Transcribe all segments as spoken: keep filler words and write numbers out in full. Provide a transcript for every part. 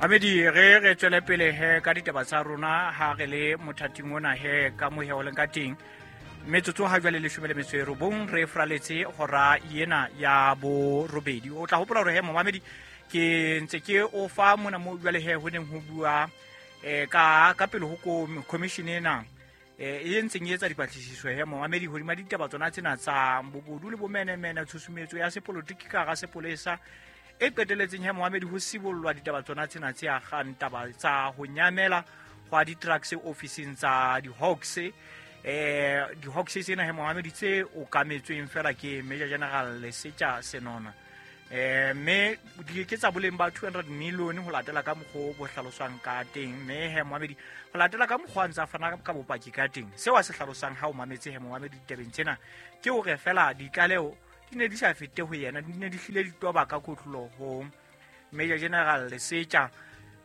Amedi re re tswele pele he ka ditaba tsa rona ha re le mothating ona he ka mohe o leng ka teng. Metsotso ha jwale leshome le metso e robong re fraletse hora yena ya borobedi. O tla hopola hore he momamedi ke ntse ke o fa mona mo jwale he ho neng ho bua eh ka ka pele ho commission ena eh e ntseng e etsa dipatlisiso he momamedi hodima ditaba tsona tsena tsa bobodu le bomenemene tshusumetso ya sepolotiki ka ga sepolesa e qeteletseng he momamedi ho sibollwa ditaba tsona tsena tse agang taba tsa ho nyamela hwa di-trucks ofising tsa di-Hawks. Eh di-Hawks tsena he momamedi tse okametsweng fela ke Major General Lesetja Senona. Eh mme di ke tsa boleng ba two hundred million ho latela ka mokgwa bo hlaloswang ka teng, mme he momamedi ho latela ka mokgwa ntsa fana ka bopaki ka teng. Seo a se hlalosang ha o mametse he momamedi ditabeng tsena ke hore fela ditlaleho di ne di sa fete ho yena, di ne di hlile di toba ka kotlolo ho Major General Lesetja,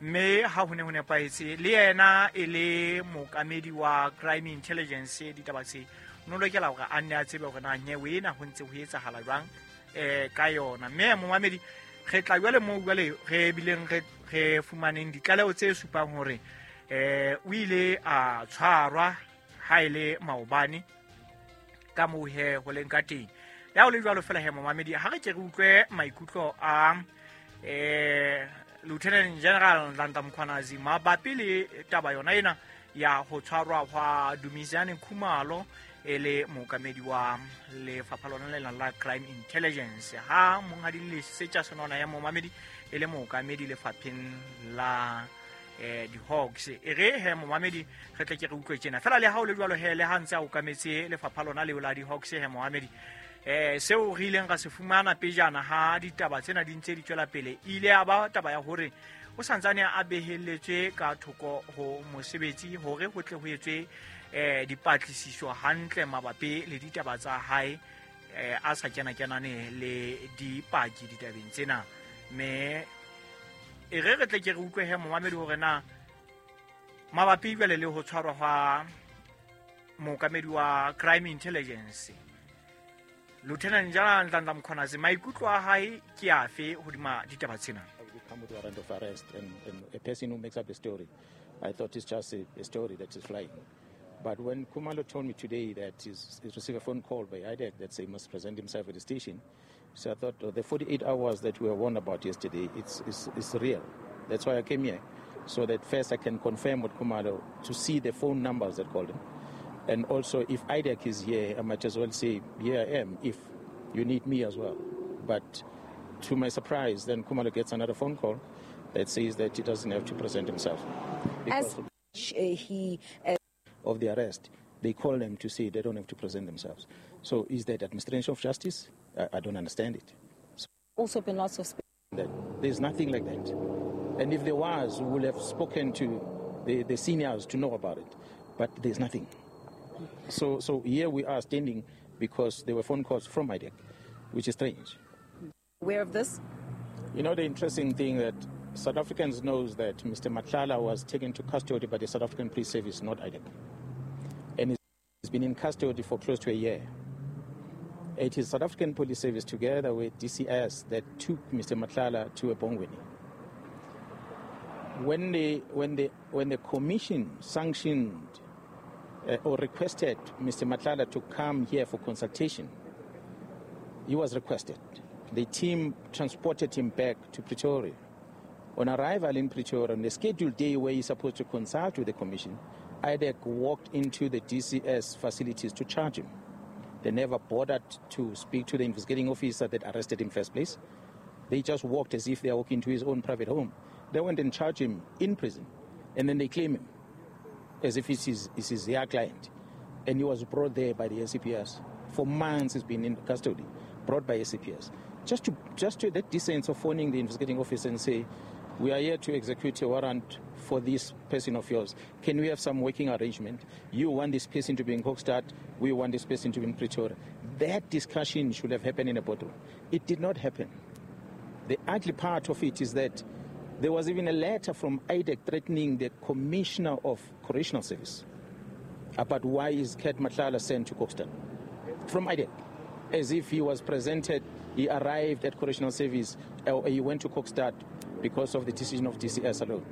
mme ha ho ne ho nepahetse le yena e le mookamedi wa Crime Intelligence ditaba tse no lokela hore a nne a tsebe hore na nyewe ena ho ntse ho etsahala jwang eh ka yona. Mme momamedi re tla jwale moo jwale re bileng re re fumaneng ditlaleho tse supang hore eh o ile a tshwarwa ha ile maobane ka moo he ho leng ka teng. Ya ho le jwalo fela he momamedi ha re ke re utlwe maikutlo a eh Lieutenant General Nhlanhla Mkhwanazi mabapi le taba yona ena ya ho tshwarwa hwa Dumisani Khumalo e le mookamedi wa lefapha lona le la Crime Intelligence, ha monghadi Lesetja Senona ya momamedi e le mookamedi lefapheng la eh di-Hawks. E re he momamedi re tle ke re utlwe tjena fela le ha o le jwalo he le ha ntse a okametse lefapha lona leo la di-Hawks he momamedi eh seo re ileng ra se fumana pejana ha ditaba tsena di ntse di tswela pele ile ya ba taba ya hore o santsane a beheletswe ka thoko ho mosebetsi hore ho tle ho etswe eh dipatlisiso hantle mabapi le ditaba tsa hae eh a sa kena kenane le dipaki ditabeng tsena. Mme e re re tle ke re utlwe he momamedi hore na mabapi jwale le ho tshwarwa hwa mookamedi wa Crime Intelligence Lieutenant General Nhlanhla Mkhwanazi maikutlo a hae ke afe hodima ditaba tsena? Come with warrant of arrest and, and a person who makes up a story. I thought it's just a, a story that is flying. But when Khumalo told me today that he's, he's received a phone call by I D E C that say he must present himself at the station, so I thought oh, the forty-eight hours that we were warned about yesterday, it's, it's, it's real. That's why I came here, so that first I can confirm with Khumalo to see the phone numbers that called him. And also, if I D E C is here, I might as well say, here I am, if you need me as well. But to my surprise, then Khumalo gets another phone call that says that he doesn't have to present himself. As he... Uh, of the arrest, they call them to say they don't have to present themselves. So is that administration of justice? I, I don't understand it. So also been lots of... That there's nothing like that. And if there was, we would have spoken to the, the seniors to know about it. But there's nothing. So, so here we are standing because there were phone calls from I D E C, which is strange. Aware of this? You know, the interesting thing that South Africans knows that Mister Matlala was taken to custody by the South African Police Service, not I D E C. And he's been in custody for close to a year. It is South African Police Service together with D C S that took Mister Matlala to Ebongweni. When the, when the, when the commission sanctioned uh, or requested Mister Matlala to come here for consultation, he was requested. The team transported him back to Pretoria. On arrival in Pretoria, on the scheduled day where he's supposed to consult with the commission, I D E C walked into the D C S facilities to charge him. They never bothered to speak to the investigating officer that arrested him in first place. They just walked as if they are walking to his own private home. They went and charged him in prison, and then they claim him as if it's his, it's his their client. And he was brought there by the S A P S. For months he's been in custody, brought by S A P S. Just to, just to that distance of phoning the investigating officer and say, we are here to execute a warrant for this person of yours. Can we have some working arrangement? You want this person to be in Kokstad, we want this person to be in Pretoria. That discussion should have happened in a boardroom. It did not happen. The ugly part of it is that there was even a letter from I D E C threatening the Commissioner of Correctional Service about why is Cat Matlala sent to Kokstad. From I D E C, as if he was presented He arrived at Correctional Service, uh, he went to Kokstad because of the decision of D C S alone.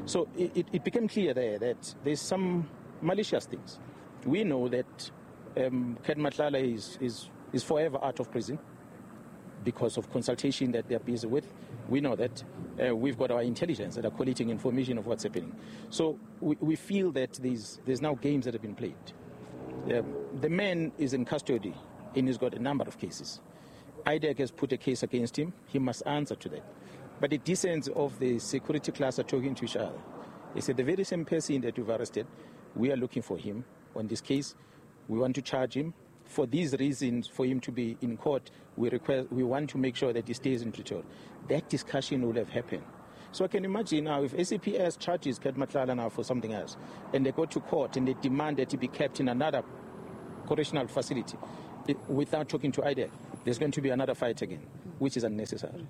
So it, it, it became clear there that there's some malicious things. We know that um, Cat Matlala is, is, is forever out of prison because of consultation that they're busy with. We know that. Uh, we've got our intelligence that are collating information of what's happening. So we, we feel that there's, there's now games that have been played. Um, the man is in custody and he's got a number of cases. I D E C has put a case against him. He must answer to that. But the decency of the security class are talking to each other. They said the very same person that you've arrested, we are looking for him on this case. We want to charge him. For these reasons, for him to be in court, we request, we want to make sure that he stays in Pretoria. That discussion will have happened. So I can imagine now if S A P S charges Cat Matlala now for something else, and they go to court and they demand that he be kept in another correctional facility without talking to I D E C, there's going to be another fight again, which is unnecessary.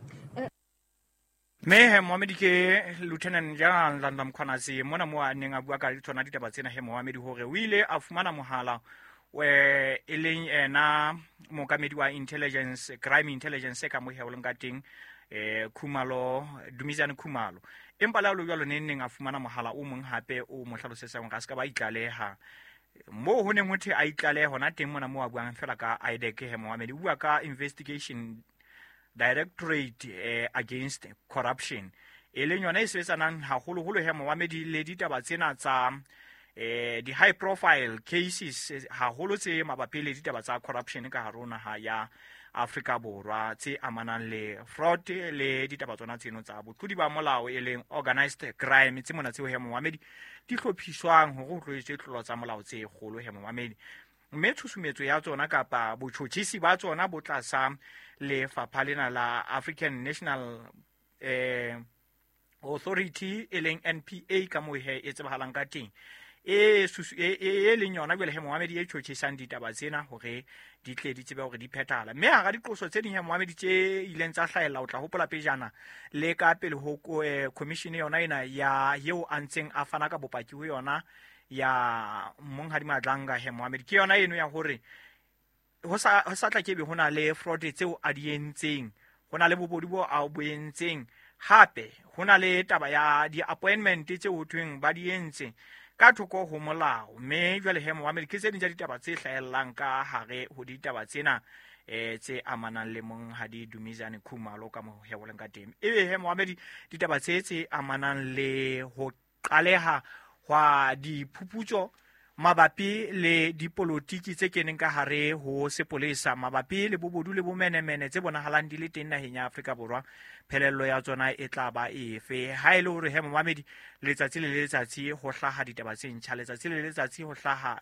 Me he Mohamedi ke Lieutenant General Nhlanhla Mkhwanazi mona mo a neng a bua ka tsona ditaba tsena he Mohamedi hore o ile a fumana mohala we e leng ena mookamedi wa intelligence crime intelligence ka mo heoleng ka teng eh Khumalo Dumizane Khumalo empa la lo jwalo ne neng a fumana mohala o mong hape o mo hlalosetsang hore a ska ba itlaleha mo ho neng ho the a itlalehe hona teng mona mo a buang fela ka I D E C he Mohamedi o bua ka investigation Directorate eh, Against Corruption e leng yona e sebetsanang haholoholo he Mohamedi le ditaba tsena tsa eh di high profile cases haholo tse mabapi le ditaba tsa corruption ka hare ho naha ya Afrika Borwa tse amanang le fraud le ditaba tsona tseno tsa botlodi ba molao e leng organized crime tse mona tseo he Mohamedi di hlophiswang hore ho tlo etswe tlolo tsa molao tse kgolo he Mohamedi mme tshusumetso ya tsona kapa botjhotjhisi ba tsona bo tlasa lefapha lena la African National eh Authority e leng N P A ka moo he e tsebahalang ka teng e e e leng yona jwale he Mohamedi e tjhotjhisang ditaba tsena hore di tle di tsebe hore di phethahala mme hara diqoso tse ding he Mohamedi tse ileng tsa hlahella o tla hopola pejana le ka pele ho commission yona ena ya eo a ntseng a fana ka bopaki ho yona ya Monghadi Madlanga he Mohamedi ke yona eno ya hore ho sa ho sa tla ke be hona le fraud tseo a di entseng hona le bobodu bo a bo entseng hape hona le taba ya di appointment tseo ho thweng ba di entse ka thoko ho molao mme jwale he Mohamedi ke tse ding tsa ditaba tse hlahellang ka hare ho ditaba tsena eh tse amanang le Monghadi Dumizane Khumalo ka mo heoleng ka teng ebe he Mohamedi ditaba tse tse amanang le ho qaleha hwa diphuputso mabapi le dipolotiki tse keneng ka hare ho sepolesa mabapi le bobodu le bomenemene tse bonahalang di le teng naheng ya Afrika Borwa phelello ya tsona e tla ba efe ha e le hore he Mohamedi letsatsi le letsatsi ho hlaha ditaba tse ntjha letsatsi le letsatsi ho hlaha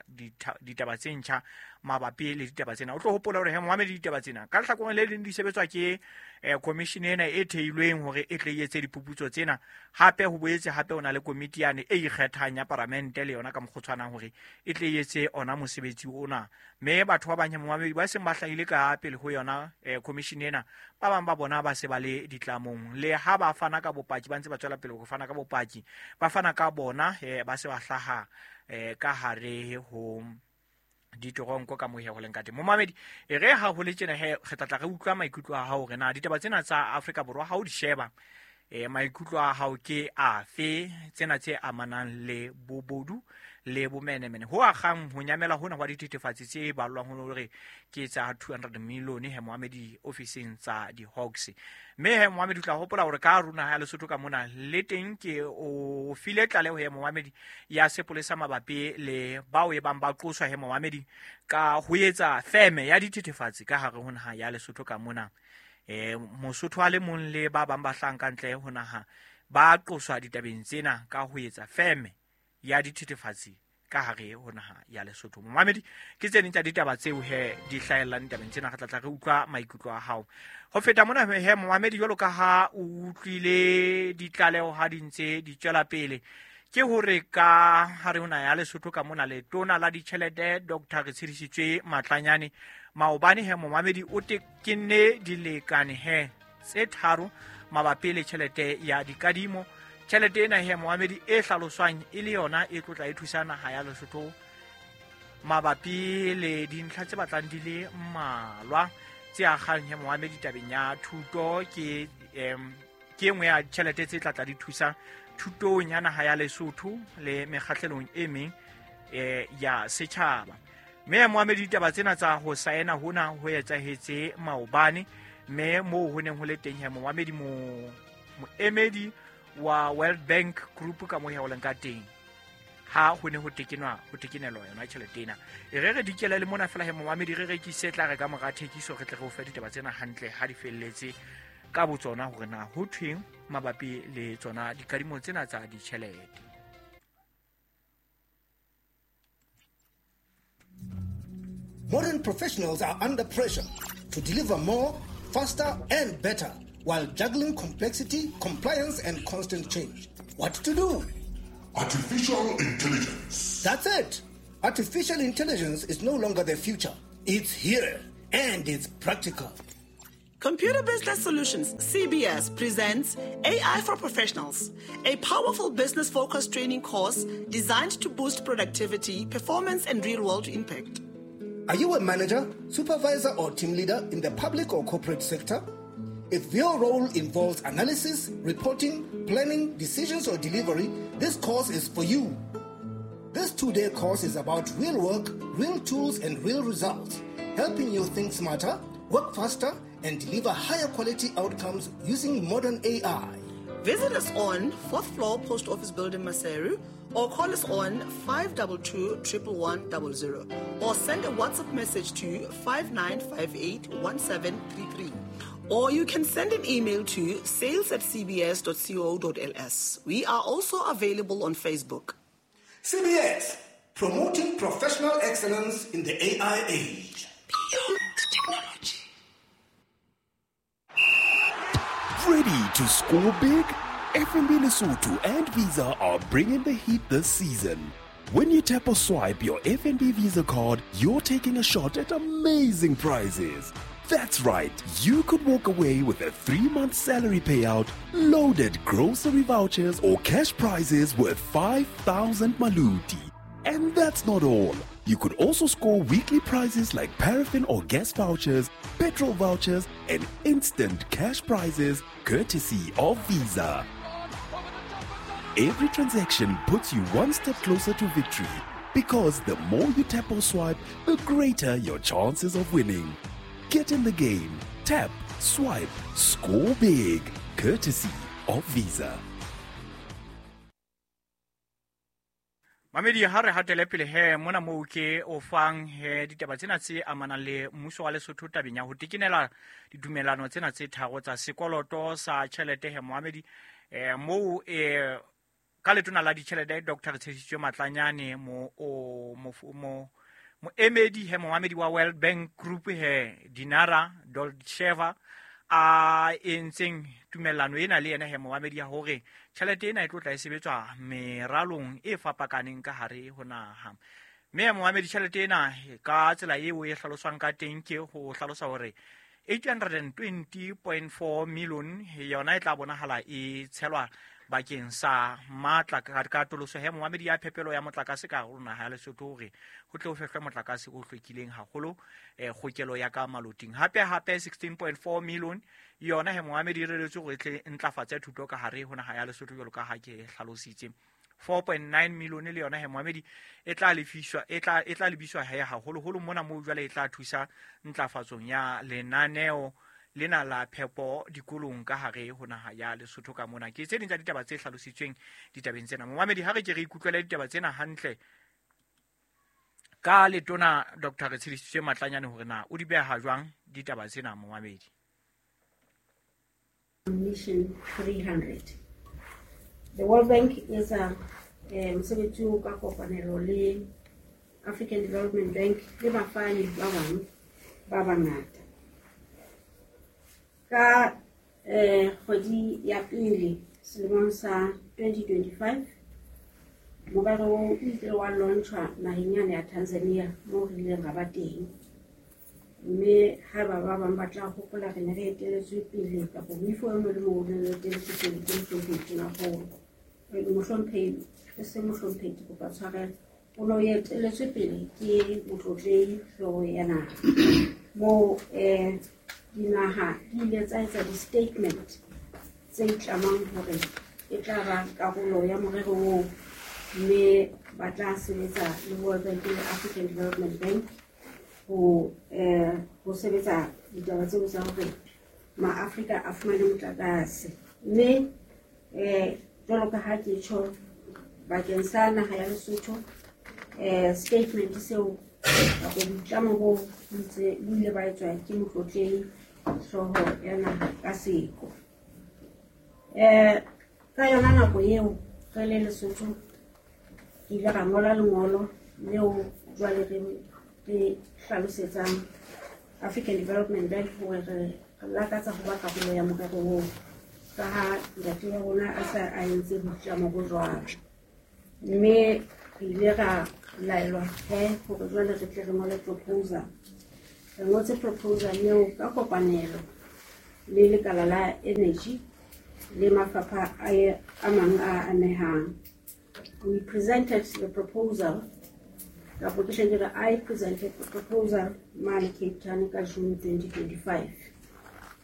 ditaba tse ntjha mabapi le ditaba tsena o tlo hopola hore he Mohamedi ditaba tsena ka lehlakoreng le leng di sebetswa ke commission ena e theilweng hore e tle e etse diphuputso tsena hape ho boetse hape o na le komiti yane e ikgethang ya paramente le yona ka mokgotshwanang hore e tle e etse ona mosebetsi ona mme batho ba bang Mohamedi ba seng ba hlahile ka pele ho yona commission ena ba bang ba bona ba se ba le ditlamong le ha ba fana ka bopaki ba ntse ba tswela pele ho fana ka bopaki ba fana ka bona ba se ba hlaha ka hare ho ditoronko ka mohe ho leng ka teng Mohamedi e re ha ho le tjena he re tla tla re utlwa maikutlo a hao hore na ditaba tsena tsa Afrika Borwa ha o di sheba eh maikutlo a hao ke afe tsena tse amanang le bobodu le bomenemene ho akgang ho nyamela hona hwa dithethefatsi tse balwang hore ke tsa two hundred million he Mohamedi ofising tsa di Hawks mme he Mohamedi tla hopola hore ka rona ha Lesotho ka mona le teng ke o file tlaleho he Mohamedi ya sepolesa mabapi le bao e bang ba qoswa he Mohamedi ka ho etsa feme ya dithethefatsi ka hare ho naha ya Lesotho ka mona eh Mosotho a le mong le ba bang ba hlang ka ntle ho naha ba qoswa ditabeng tsena ka ho etsa feme ya dithethefatsi ka hare ho naha ya Lesotho. Mohamedi ke tse ding tsa ditaba tseo he di hlahellang ditabeng tsena re tla tla re utlwa maikutlo a hao ho feta mona he Mohamedi jwalo ka ha o utlwile ditlaleho ha di ntse di tswela pele ke hore ka hare ho naha ya Lesotho ka mona letona la ditjhelete Doctor Retshidisitswe Matlanyane maobane he Mohamedi o tekenne dilekane he tse tharo mabapi le tjhelete ya dikadimo tjhelete ena he Mohamedi e hlaloswang e le yona e tlotla e thusa naha ya Lesotho mabapi le dintlha tse batlang di le mmalwa tse akgang he moamedi tabeng ya thuto ke em ke engwe ya tjhelete tse tla tla di thusa thutong ya naha ya Lesotho le mekgahlelong e meng eh ya setjhaba. Mme moamedi ditaba tsena tsa ho saena hona ho etsahetse maobane, mme moo ho neng ho le teng he moamedi mo moemedi wa World Bank Group ka mo he o leng ka teng ha ho ne ho tekenwa ho tekenelwa yona tjhelete ena. E re re dikele le mona fela he moamedi re rekise tla re ka mora thekiso re tle re o fe ditaba tsena hantle ha di felletse ka botsona hore na ho thweng mabapi le tsona dikadimo tsena tsa ditjhelete. Modern professionals are under pressure to deliver more, faster, and better while juggling complexity, compliance, and constant change. What to do? Artificial intelligence. That's it. Artificial intelligence is no longer the future. It's here, and it's practical. Computer Business Solutions, C B S, presents A I for Professionals, a powerful business-focused training course designed to boost productivity, performance, and real-world impact. Are you a manager, supervisor, or team leader in the public or corporate sector? If your role involves analysis, reporting, planning, decisions, or delivery, this course is for you. This two-day course is about real work, real tools, and real results, helping you think smarter, work faster, and deliver higher quality outcomes using modern A I. Visit us on fourth floor Post Office Building, Maseru, or call us on five two two, one one one zero, or send a WhatsApp message to five nine five eight, one seven three three. Or you can send an email to sales at c b s dot co dot l s. We are also available on Facebook. C B S, promoting professional excellence in the A I age. Beyond technology. Ready to score big? F N B Lesotho and Visa are bringing the heat this season. When you tap or swipe your F N B Visa card, you're taking a shot at amazing prizes. That's right, you could walk away with a three-month salary payout, loaded grocery vouchers, or cash prizes worth five thousand maluti. And that's not all. You could also score weekly prizes like paraffin or gas vouchers, petrol vouchers, and instant cash prizes courtesy of Visa. Every transaction puts you one step closer to victory, because the more you tap or swipe, the greater your chances of winning. Get in the game. Tap, swipe, score big. Courtesy of Visa. Mamedi ha re hatele pele he mona moo ke o fang he ditaba tsena tse amanang le mmuso wa Lesotho tabeng ya ho tekenela didumelano tsena tse tharo tsa sekoloto sa tjhelete he Mohamedi eh moo eh ka letona la ditjhelete Doctor Tshedisitwe Matlanyane mo o mo mo moemedi he Mohamedi wa World Bank Group he Dinara Dolcheva a entseng tumellano ena le yena he Mohamedi ya hore tjhelete ena e tlo tla e sebetswa meralong e fapakaneng ka hare ho naha. Mme Mohamedi tjhelete ena ka tsela eo e hlaloswang ka teng ke ho hlalosa hore eight hundred twenty point four million yona e tla bonahala e tshelwa bakeng sa matla ka katoloso he Mohamedi ya phepelo ya motlakase ka hare naha ya Lesotho hore ho tle ho fehlwe motlakase o hlwekileng haholo eh kgokelo ya ka maloting. Hape hape sixteen point four million yona he Mohamedi e reretswe hore e tle ntlafatse thuto ka hare ho naha ya Lesotho jwalo ka ha ke hlalositse. four point nine million le yona he Mohamedi e tla lefiswa e tla e tla lebiswa he haholoholo mona moo jwale e tla thusa ntlafatsong ya lenaneo lena la phepo dikolong ka hare ho naha ya Lesotho ka mona. Ke tse ding tsa ditaba tse hlalositsweng ditabeng tsena. Mohamedi ha re ke re ikutlwele ditaba tsena hantle ka letona Doctor Tshedisitwe Matlanyane hore na o di beha jwang ditaba tsena Mohamedi. Mission three hundred. The World Bank is a mosebetsi o ka kopanelo le African Development Bank le bafani ba bang ba bangata. Ka eh kgwedi ya pele selemong sa twenty twenty-five morero o ile wa launchwa naheng yane ya Tanzania moo re ileng ra ba teng, mme ha ba ba bang ba tla hopola re ne re eteletswe pele kapa moifo o mong le mong o ne o eteletswe pele ke mohlomphehi Tonakgolo. Mohlomphehi e se mohlomphehi ke kopa tshwarelo, o ne o eteletswe pele ke motlotlehi hlooho ya naha. Moo eh dinaha di ile tsa etsa di-statement tse itlamang hore e tla ba karolo ya morero oo, mme ba tla sebetsa le World Bank le African Development Bank ho eh ho sebetsa ditaba tseo tsa hore maAfrika a fumane motlakase. Mme eh jwalo ka ha ke tjho bakeng sa naha ya Lesotho, eh statement seo kapa boitlamo bo ntse bo ile ba etswa ke motlotlehi hlooho ya naha ka seko. Eh ka yona nako eo re le Lesotho ke ile ra ngola lengolo leo jwale re re hlalosetsang African Development Bank hore re lakatsa ho ba karolo ya morero oo, ka ha ntate wa rona a sa a entse boitlamo bo jwalo. Mme re ile ra laelwa he hore jwale re tle re ngole proposal. Re ngotse proposal eo ka kopanelo le lekala la energy le mafapha a mang a amehang. We presented the proposal, kapo ke hle ke re I presented the proposal mane Cape Town ka June twenty twenty-five.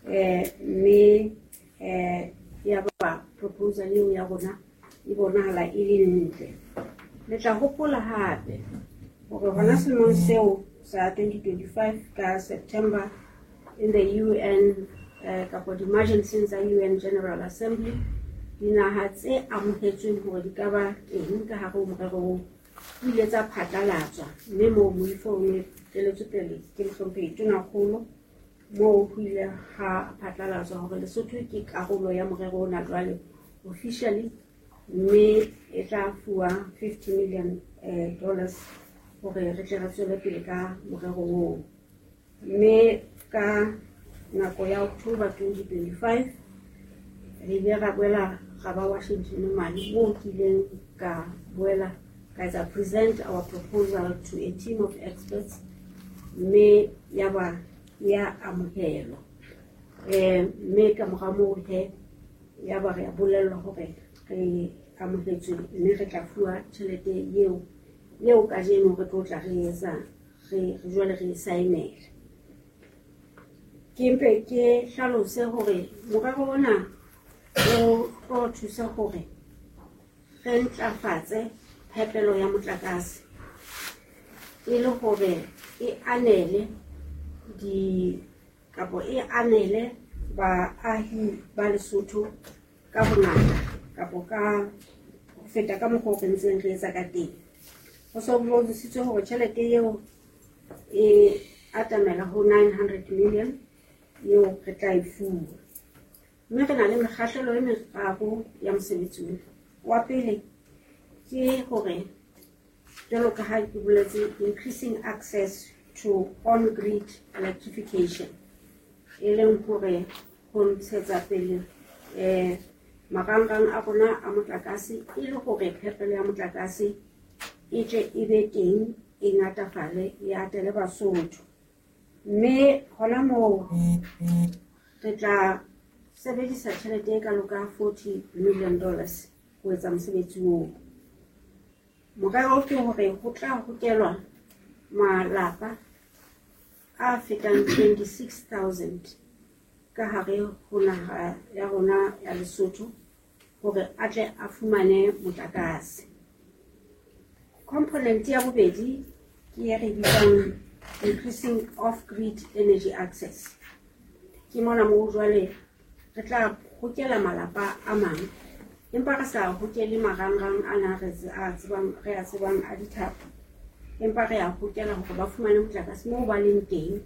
Eh mme eh ya ba proposal eo ya rona e bonahala e le ntle. Le tla hopola hape hore hona selemong seo sa twenty twenty-five ka September in the U N eh kapo di-emergency tsa U N General Assembly, dinaha tse amohetsweng hore di ka ba teng ka hare ho morero oo di ile tsa phatlalatswa, mme moo moifo o ne teletswe pele ke mohlomphehi Tonakgolo, moo ho ile ha phatlalatswa hore Lesotho ke karolo ya morero ona jwale officially, mme e tla fuwa fifty million eh, dollars hore re tle re tswele pele ka morero oo. Mme ka nako ya October twenty twenty-five re ile ra boela ra ba Washington mane, moo ke ileng ka boela ka etsa present our proposal to a team of experts, mme ya ba ya amohelwa. Eh mme ka mora moo he ya ba re a bolellwa hore re amohetswe mme re tla fuwa tjhelete eo eo kajeno re tlo tla re etsa re jwale re saenela. Ke mpe ke hlalose hore morero ona o tlo thusa hore re ntlafatse phepelo ya motlakase e le hore e anele di kapo e anele baahi ba Lesotho ka bongata kapo ka ho feta ka mokgwa o re ntseng re etsa ka teng. Ho so boledisitswe hore tjhelete eo e atamela ho nine hundred million eo re tla e fuwa. Mme re na le mekgahlelo e meraro ya mosebetsi ona. Wa pele ke hore jwalo ka ha ke boletse, increasing access to on-grid electrification, e leng hore ho ntshetsa pele eh marangrang a rona a motlakase e le hore phepelo ya motlakase e tle e be teng, e ngatafale, e atele Basotho. Mme hona moo re tla sebedisa tjhelete e kalo ka forty million dollars ho etsa mosebetsi oo. Morero ke hore ho tla hokelwa malapa a fetang twenty-six thousand ka hare ho naha ya rona ya Lesotho hore a tle a fumane motlakase. Component ya bobedi ke e re bitsang increasing off-grid energy access. Ke mona moo jwale re tla hokela malapa a mang, empa re sa hokele marangrang ana re a tsebang re a tsebang a dithapo, empa re a hokela hore ba fumane motlakase moo ba leng teng,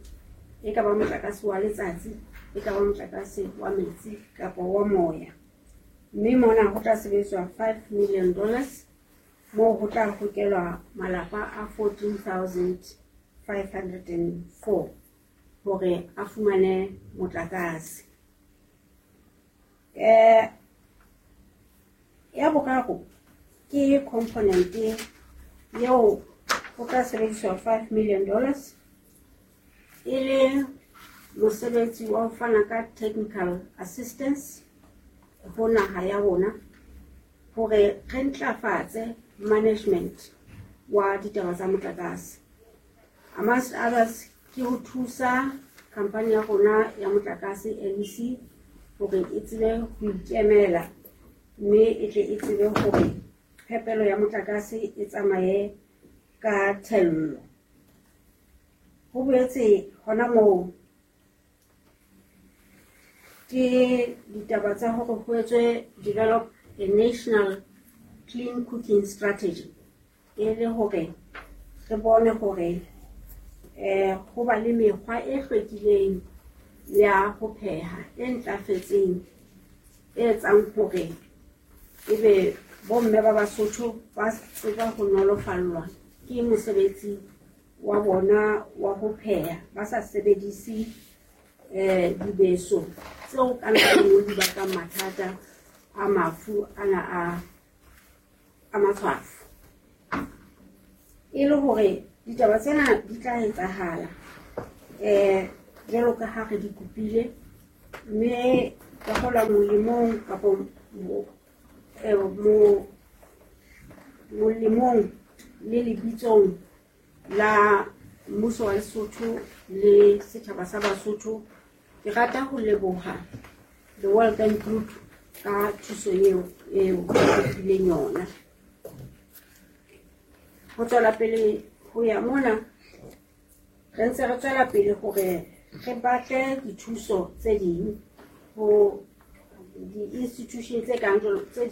e ka ba motlakase wa letsatsi, e ka ba motlakase wa metsi kapa wa moya. Mme mona ho tla sebediswa five million dollars, moo ho tla hokelwa malapa a fourteen thousand five hundred and four hore a fumane motlakase. Eh ya boraro ke component eo ho tla sebediswa five million dollars e le mosebetsi wa ho fana ka technical assistance ho naha ya rona hore re ntlafatse management wa ditaba tsa motlakase. Amongst others Ke ho thusa khampani ya rona ya motlakase L E C hore e tsebe ho ikemela, mme e tle e tsebe hore phepelo ya motlakase e tsamaye ka thello. Ho boetse hona moo ke ditaba tsa hore ho etswe develop a national clean cooking strategy, e le hore re bone hore eh ho ba le mekgwa e hlwekileng ya ho pheha e ntlafetseng, e etsang hore ebe bomme ba Basotho ba tseba ho nolofallwa ke mosebetsi wa bona wa ho pheha, ba sa sebedise eh dibeso tseo ka nako e nngwe di bakang mathata a mafu ana a, a matshwafo. E le hore ditaba tsena di tla etsahala eh jwalo ka ha re di kopile, mme ka hola molemong kapa mo, eh, mo, molemong le lebitsong la mmuso wa Lesotho le setjhaba sa Basotho, ke rata ho leboha the World Bank Group ka thuso eo eo e fileng yona. Ho tswela pele ho ya mona, re ntse re tswela pele hore re batle dithuso tse ding ho di-institution tse kang jwalo tse